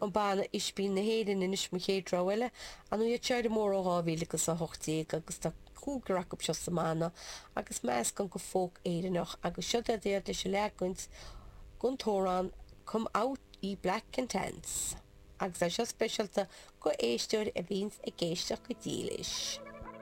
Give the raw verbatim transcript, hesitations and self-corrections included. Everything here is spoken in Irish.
An banna Ispín na hÉireann anois mo chéad rogha eile, an iad seo ar an mór ó dhá mhíle agus a hocht déag agus tá cúigear acu seo sa mbanna agus meascán de folk Éireannach agus seo iad leis an leagan den t-amhrán Come Out Ye Black and Tans. Agus é seo speisialta go éisteoir a bhíonns ag éisteacht go dílis.